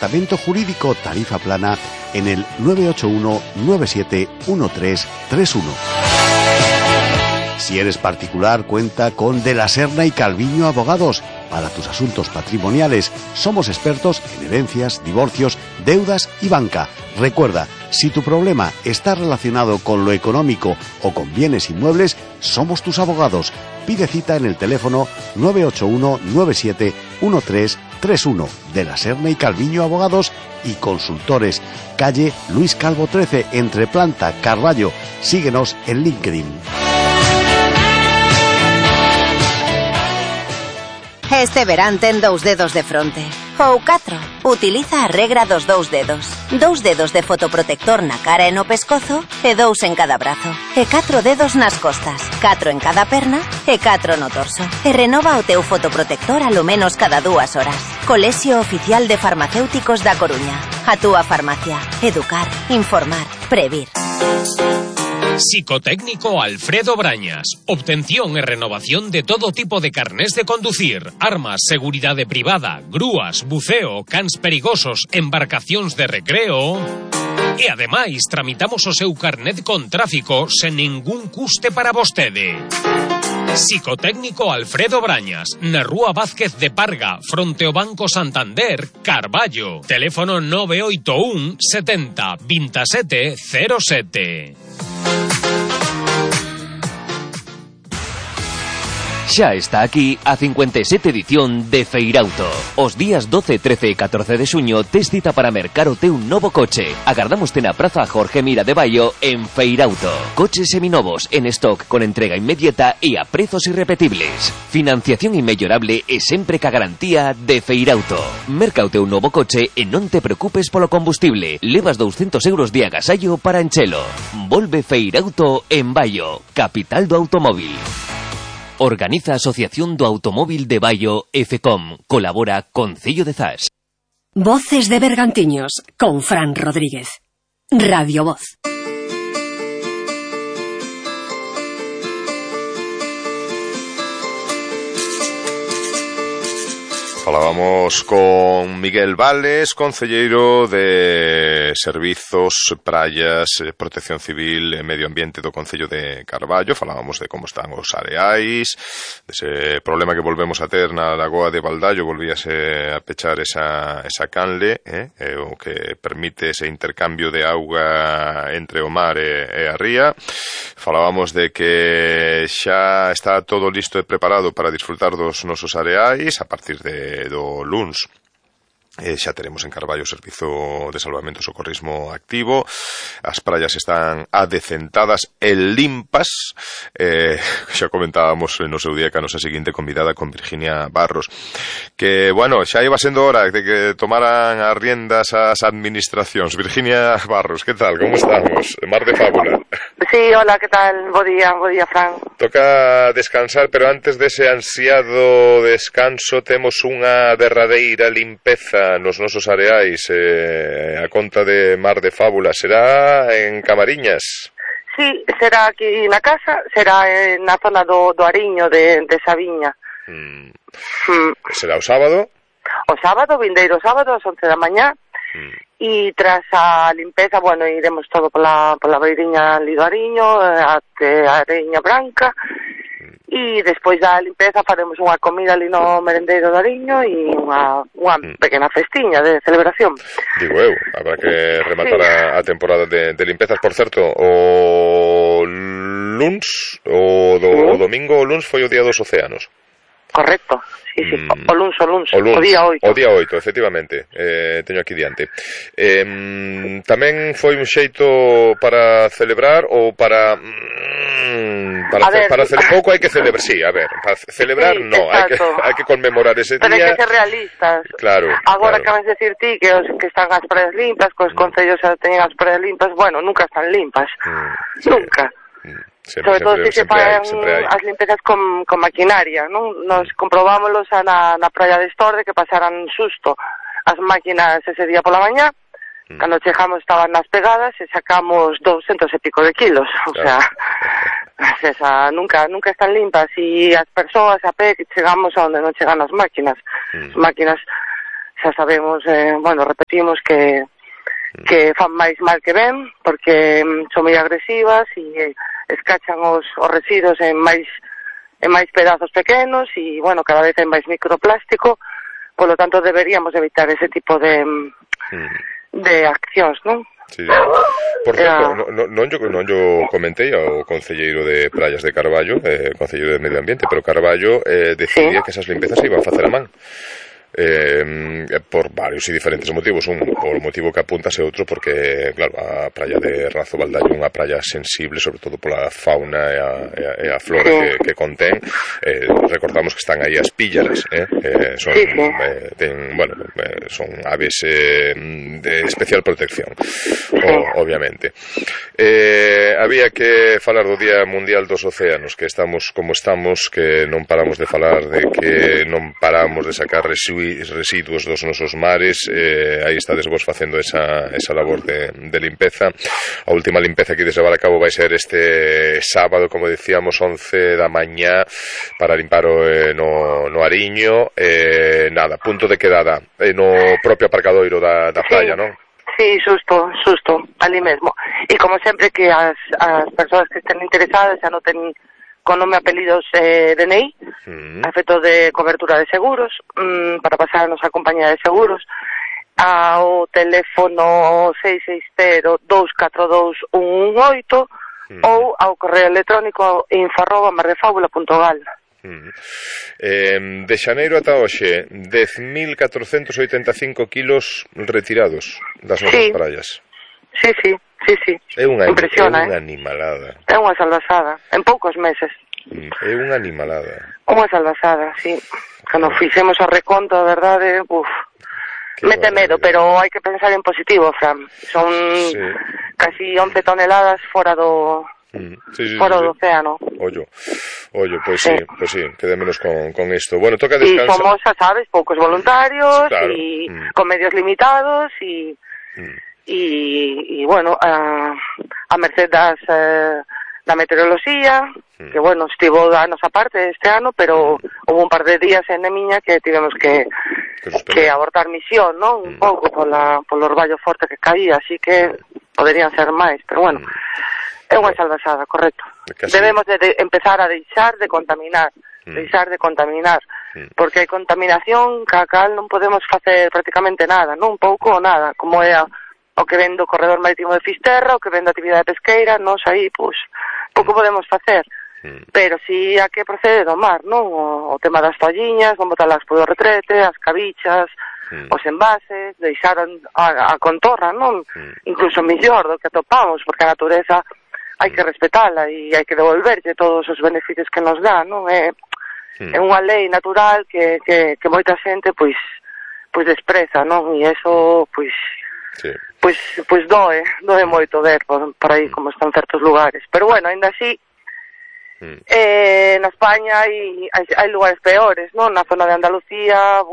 Departamento Jurídico Tarifa Plana en el 981 97 1331. Si eres particular, cuenta con De la Serna y Calviño Abogados. Para tus asuntos patrimoniales, somos expertos en herencias, divorcios, deudas y banca. Recuerda, si tu problema está relacionado con lo económico o con bienes inmuebles, somos tus abogados. Pide cita en el teléfono 981 97 1331. De la Serna y Calviño Abogados y Consultores. Calle Luis Calvo 13, entre Planta, Carballo. Síguenos en LinkedIn. Este verán ten 2 dedos de fronte. Ou 4. Utiliza a regra dos 2 dedos. 2 dedos de fotoprotector na cara e no pescozo e 2 en cada brazo. E 4 dedos nas costas. 4 en cada perna e 4 no torso. E renova o teu fotoprotector a lo menos cada 2 horas. Colexio Oficial de Farmacéuticos da Coruña. A túa farmacia. Educar, informar, previr. Psicotécnico Alfredo Brañas. Obtención e renovación de todo tipo de carnés de conducir, armas, seguridade privada, grúas, buceo, cans perigosos, embarcacións de recreo. E ademais tramitamos o seu carnet con tráfico sen ningún custe para vostede. Psicotécnico Alfredo Brañas, na Rúa Vázquez de Parga, fronte ao Banco Santander, Carballo. Teléfono 981 70 27 07. Xa está aquí a 57 edición de Feirauto. Os días 12, 13 e 14 de xuño tes cita para mercar o teu novo coche. Agardámoste na Praza Jorge Mira de Baio en Feirauto. Coches seminovos en stock con entrega inmediata e a prezos irrepetibles. Financiación inmellorable e sempre ca garantía de Feirauto. Merca o teu novo coche e non te preocupes polo combustible. Levas 200 euros de agasallo para enchelo. Volve Feirauto en Baio, capital do automóvil. Organiza a Asociación do Automóvil de Baio e FECOM. Colabora Concello de Zas. Voces de Bergantiños con Fran Rodríguez. Radio Voz. Falábamos con Miguel Vales, concelleiro de Servizos, Praias, Protección Civil e Medio Ambiente do Concello de Carballo. Falábamos de como están os areais, dese problema que volvemos a ter na lagoa de Baldallo, volvíase a pechar esa canle, o que permite ese intercambio de auga entre o mar e a ría. Falábamos de que xa está todo listo e preparado para disfrutar dos nosos areais a partir do luns. Xa teremos en Carballo o Servizo de Salvamento e Socorrismo activo. As praias están adecentadas e limpas. Xa comentábamos no seu día que a nosa seguinte convidada con Virginia Barros, que, bueno, xa iba sendo hora de que tomaran as riendas as administracións. Virginia Barros, que tal? Como estamos? Mar de Fábula. Sí, hola, que tal? Bo día, Fran. Toca descansar, pero antes dese ansiado descanso temos unha derradeira limpeza nos nosos areais, a conta de Mar de Fábula. Será en Camariñas? Sí, será aquí na casa, será na zona do Ariño de Sabiña. Será o sábado? O sábado, vindeiro sábado, ás 11 da mañá. E tras a limpeza, bueno, iremos todo pola beiriña ali do Ariño, até a Areña Branca, e despois da limpeza faremos unha comida ali no merendeiro do Ariño e unha pequena festiña de celebración. Digo eu, habrá que rematar a temporada de limpezas. Por certo, o luns, o domingo o luns foi o Día dos Océanos. Correcto, sí, o luns, o día 8. O día 8, efectivamente, teño aquí diante. Tamén foi un xeito para celebrar ou para pouco hai que celebrar, sí, a ver, para celebrar sí, no, hai que conmemorar ese pero día. Pero hai que ser realistas. Claro. Agora acabas de decir ti que os que están as praias limpas, que os concellos teñen as praias limpas, bueno, nunca están limpas. Sí. Nunca. Sobre todo se se fan as limpezas con maquinaria, non? Nos comprobámoslos na praia de Estorde que pasaran susto as máquinas ese día pola mañá, cando chegamos estaban nas pegadas e sacamos 200 e pico de kilos, o sea, nunca están limpas e as persoas a pé que chegamos a onde non chegan as máquinas. As máquinas xa sabemos, repetimos que fan máis mal que ben, porque son moi agresivas e escachan os residuos en máis pedazos pequenos e, cada vez hai máis microplástico, polo tanto deberíamos evitar ese tipo de accións, non? Sí. Por certo, non yo comentei ao concelleiro de Praias de Carballo, concelleiro de Medio Ambiente, pero Carballo decidía que esas limpezas se iban a facer a man. Por varios e diferentes motivos. Un, por motivo que apuntas, e outro porque, claro, a praia de Razo Baldaio é unha praia sensible, sobre todo pola fauna e a flora que contén. Recordamos que están aí as píllaras, son aves de especial protección, obviamente. Había que falar do Día Mundial dos Océanos, que estamos como estamos, que non paramos de falar de que non paramos de sacar residuos dos nosos mares. Aí estades vos facendo esa labor de limpeza. A última limpeza que ides levar a cabo vai ser este sábado, como decíamos, 11 da mañá, para limpar no Ariño. Punto de quedada no propio aparcadoiro da praia, non? Sí, xusto, ali mesmo. E como sempre, que as persoas que estén interesadas xa noten con nome, apelidos, DNI, a efecto de cobertura de seguros, para pasar a nosa compañía de seguros, ao teléfono 660-242-118 ou ao correo electrónico info@mardefabula.gal. De xaneiro ata hoxe, 10.485 kilos retirados das nosas praias. Sí. É unha animalada. É unha salvasada, en poucos meses. É unha animalada. Unha salvasada, sí. Cando fixemos o reconto, a verdade, mete medo, pero hai que pensar en positivo, Fran. Son casi 11 toneladas fora do océano. Ollo, pois sí, quedémonos con isto. Bueno, toca descansar. E somos, xa sabes, poucos voluntarios, e con medios limitados, e a merced da meteoroloxía, que, estivo da nosa parte este ano, pero houve un par de días en Nemiña que tivemos que abortar misión, non? Un pouco polo orballo forte que caía, así que poderían ser máis, pero é unha salvasada, correcto. Debemos de empezar a deixar de contaminar, porque hai contaminación ca cal non podemos facer prácticamente nada, non? Un pouco ou nada, como é o que ven do corredor marítimo de Fisterra, o que ven da actividade pesqueira, nos aí, pouco podemos facer. Pero si a que procede do mar, non? O tema das toalliñas, non botalas polo retrete, as cabichas, os envases, deixar a contorra, non? Incluso mellor do que atopamos, porque a natureza hai que respetala e hai que devolverlle todos os beneficios que nos dá, non? É unha lei natural que moita xente, pois despreza, non? E eso, pois doe moito ver por aí como están certos lugares. Pero aínda así, na España hai lugares peores, non? Na zona de Andalucía,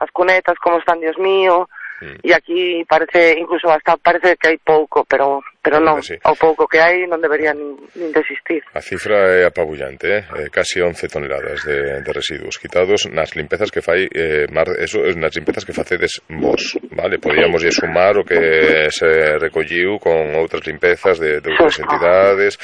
as cunetas como están, Dios mío, e aquí parece que hai pouco, pero non, ao pouco que hai non debería nin desistir. A cifra é apabullante, casi 11 toneladas de residuos quitados nas limpezas que fai nas limpezas que facedes vos, vale? Podíamos sumar o que se recolliu con outras limpezas de outras entidades,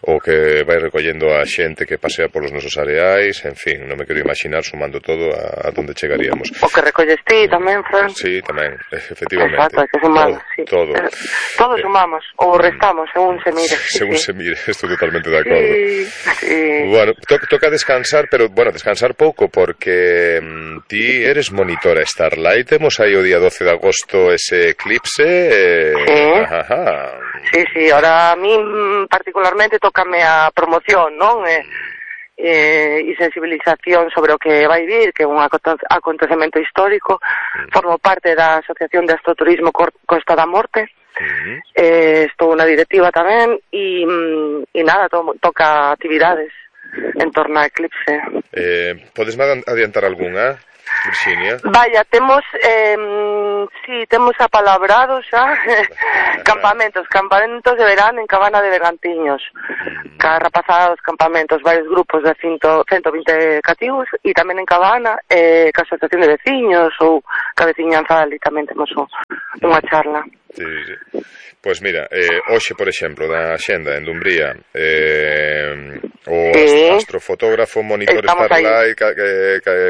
o que vai recollendo a xente que pasea polos nosos areais, en fin, non me quero imaginar sumando todo a donde chegaríamos. O que recolles ti tamén, Fran? Sí, tamén, efectivamente. Exacto, hai que sumar, todo. Todos sumamos, ou restamos, según se mire. Según se mire, estou totalmente de acordo. Bueno, toca descansar, pero, descansar pouco, porque ti eres monitora Starlight. Temos aí o día 12 de agosto ese eclipse. Sí, ahora a mí particularmente tócame a promoción, non? E sensibilización sobre o que vai vir, que é un acontecemento histórico. Formo parte da Asociación de Astroturismo Costa da Morte. Estou na directiva tamén e nada, toca actividades en torno a eclipse. Podes adiantar algunha? Virxinia? Vaya, temos apalabrados xa campamentos de verán en Cabana de Bergantiños. Cada rapazada dos campamentos, varios grupos de 120 cativos, e tamén en Cabana, ca asociación de veciños ou ca veciñanza ali tamén temos unha charla. Sí. Pois mira, hoxe, por exemplo, da Xenda en Dumbría, o astrofotógrafo, monitor Starlight,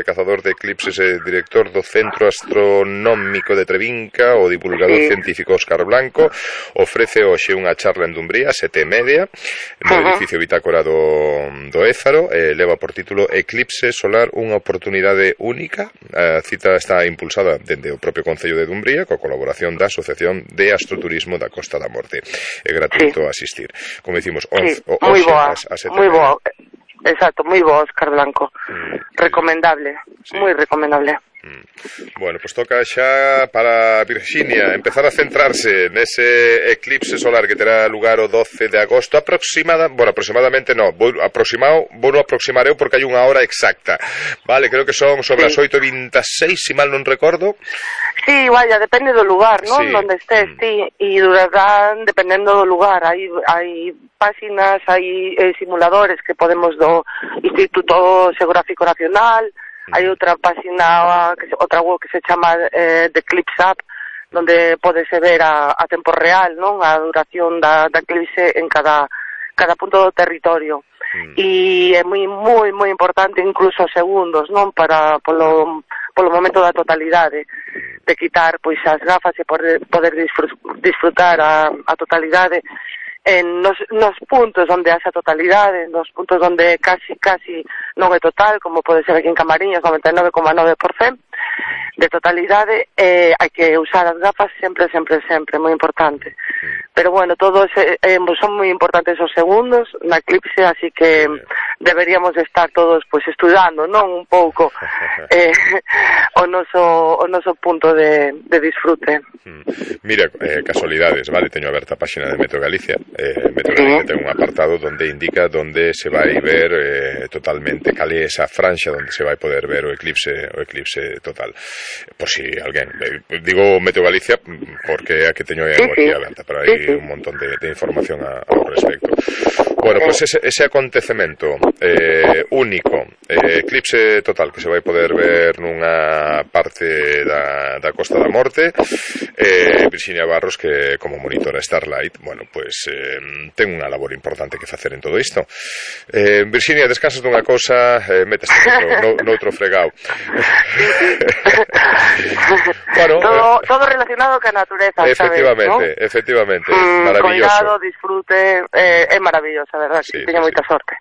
cazador de eclipses e director do Centro Astronómico de Trevinca, o divulgador científico Óscar Blanco, ofrece hoxe unha charla en Dumbría, 7:30, no edificio Bitácora do Ézaro, leva por título Eclipse solar, unha oportunidade única. A cita está impulsada dende o propio Concello de Dumbría, coa colaboración da Asociación de Astroturismo da Costa da Morte. É gratuito asistir. Como dicimos, moi boa, exacto, moi boa, Óscar Blanco. Recomendable, moi recomendable. Bueno, pues toca xa para Virxinia empezar a centrarse nese eclipse solar que terá lugar o 12 de agosto aproximadamente non, vou aproximar eu porque hai unha hora exacta, vale, creo que son sobre as 8:26, se mal non recordo. Sí, vaya, depende do lugar, non? Donde estés, e durarán dependendo do lugar. Hai páxinas, hai simuladores que podemos do Instituto Geográfico Nacional. Hai outra página, outra web que se chama The Eclipse App, donde podese ver a tempo real, non? A duración da eclipse en cada punto do territorio. E é moi importante incluso segundos, non? Polo momento da totalidade, de quitar pois as gafas e poder disfrutar a totalidade nos puntos onde haxa totalidade, nos puntos onde casi non é total, como pode ser aquí en Camariñas, 99,9% de totalidade, hai que usar as gafas sempre, moi importante. Pero bueno, todos son moi importantes os segundos na eclipse, así que deberíamos estar todos pois estudando, non, un pouco o noso punto de disfrute. Mira, casualidades, vale, teño aberta a páxina de Meteo Galicia. Meteo Galicia ten un apartado donde indica donde se vai ver totalmente cal é esa franxa donde se vai poder ver o eclipse total. Por si alguén, digo Meteo Galicia porque é a que teño aquí aberta, pero hai un montón de información ao respecto. Bueno, pues ese acontecemento único, eclipse total que se vai poder ver nunha parte da Costa da Morte. Virxinia Barros, que como monitora Starlight, bueno, pues ten unha labor importante que facer en todo isto. Virxinia, descansas dunha cousa, métese noutro fregao. Bueno, todo relacionado ca natureza, efectivamente, maravilloso. Cuidado, disfrute, é maravilloso, verdad, sí, teño moita sorte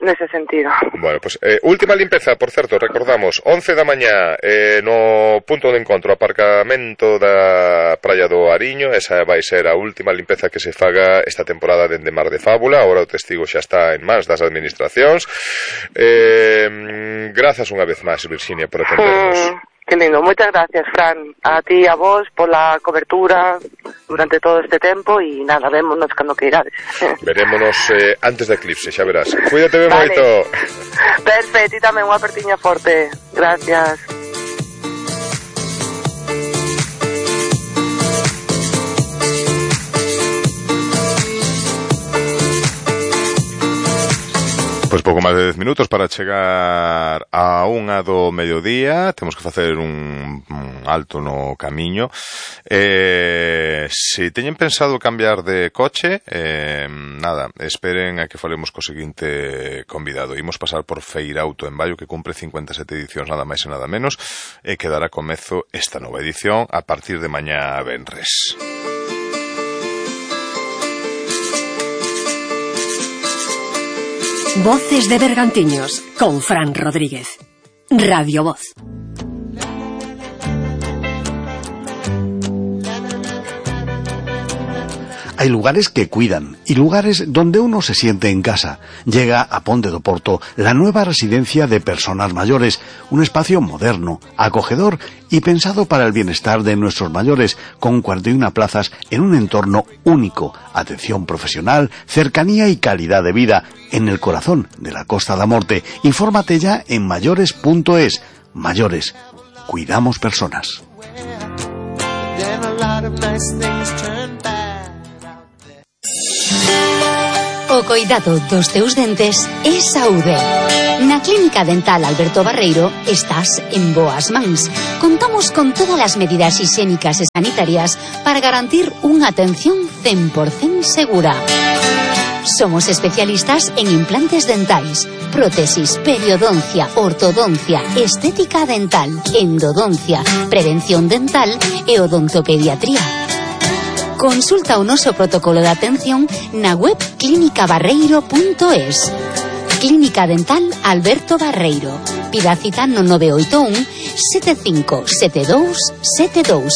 nese sentido. Bueno, pues última limpeza, por certo, recordamos, 11 da mañá no punto de encontro, aparcamento da Praia do Ariño. Esa vai ser a última limpeza que se faga esta temporada dende Mar de Fábula. Agora o testigo xa está en mans das administracións. Grazas unha vez máis, Virxinia, por atendernos. Que lindo, moitas gracias, Fran, a ti e a vos pola cobertura durante todo este tempo e nada, vémonos cando que irades. Verémonos antes da eclipse, xa verás. Cuídate ben moito. Perfecto, e tamén unha apertiña forte. Gracias. Pois pouco máis de 10 minutos para chegar a 1 do mediodía. Temos que facer un alto no camiño. Se teñen pensado cambiar de coche, nada, esperen a que falemos co seguinte convidado. Imos pasar por Feirauto en Baio, que cumpre 57 edicións, nada máis e nada menos, e que dará comezo esta nova edición a partir de mañá venres. Voces de Bergantiños con Fran Rodríguez. Radio Voz. Hay lugares que cuidan y lugares donde uno se siente en casa. Llega a Ponte do Porto la nueva residencia de personas mayores, un espacio moderno, acogedor y pensado para el bienestar de nuestros mayores, con 41 plazas en un entorno único, atención profesional, cercanía y calidad de vida en el corazón de la Costa da Morte. Infórmate ya en mayores.es. mayores. Cuidamos personas. O coidado dos teus dentes é saúde. Na Clínica Dental Alberto Barreiro estás en boas mans. Contamos con todas as medidas higiénicas e sanitarias para garantir unha atención 100% segura. Somos especialistas en implantes dentais, prótesis, periodoncia, ortodoncia, estética dental, endodoncia, prevención dental e odontopediatría. Consulta o noso protocolo de atención na web clinicabarreiro.es. Clínica Dental Alberto Barreiro. Pida cita no 981 757272.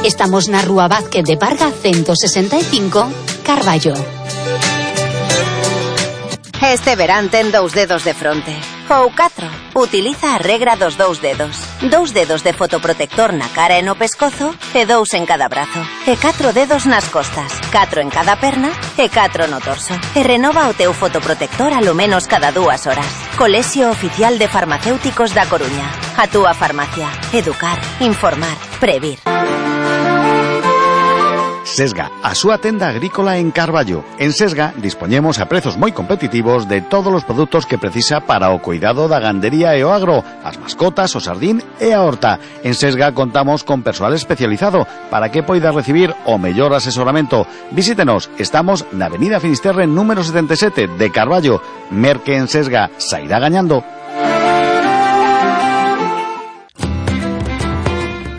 Estamos na Rúa Vázquez de Parga 165, Carballo. Este verán ten 2 dedos de fronte. Ou 4. Utiliza a regra dos 2 dedos. 2 dedos de fotoprotector na cara e no pescozo e 2 en cada brazo. E 4 dedos nas costas. 4 en cada perna e 4 no torso. E renova o teu fotoprotector alo menos cada 2 horas. Colexio Oficial de Farmacéuticos da Coruña. A túa farmacia. Educar, informar, previr. Sesga, a súa tenda agrícola en Carballo. En Sesga dispoñemos a prezos moi competitivos de todos os produtos que precisa para o cuidado da gandería e o agro, as mascotas, o sardín e a horta. En Sesga contamos con persoal especializado para que poida recibir o mellor asesoramento. Visítenos, estamos na Avenida Finisterre número 77 de Carballo. Merque en Sesga, sairá gañando.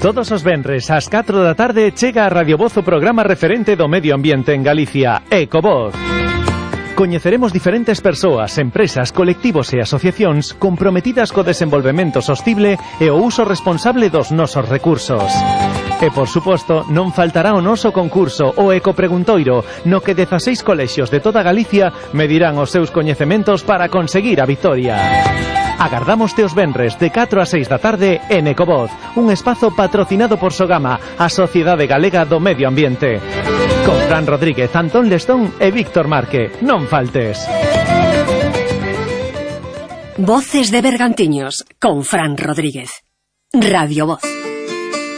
Todos os venres ás 4 da tarde chega a Radio Voz o programa referente do medio ambiente en Galicia, Ecovoz. Coñeceremos diferentes persoas, empresas, colectivos e asociacións comprometidas co desenvolvemento sostible e o uso responsable dos nosos recursos. E, por suposto, non faltará o noso concurso, o Ecopreguntoiro, no que 16 colexios de toda Galicia medirán os seus coñecementos para conseguir a vitoria. Agardámoste os venres de 4 a 6 da tarde en Ecovoz, un espazo patrocinado por Sogama, a Sociedade Galega do Medio Ambiente. Con Fran Rodríguez, Antón Lestón e Víctor Marque. Non faltes. Voces de Bergantiños con Fran Rodríguez. Radio Voz.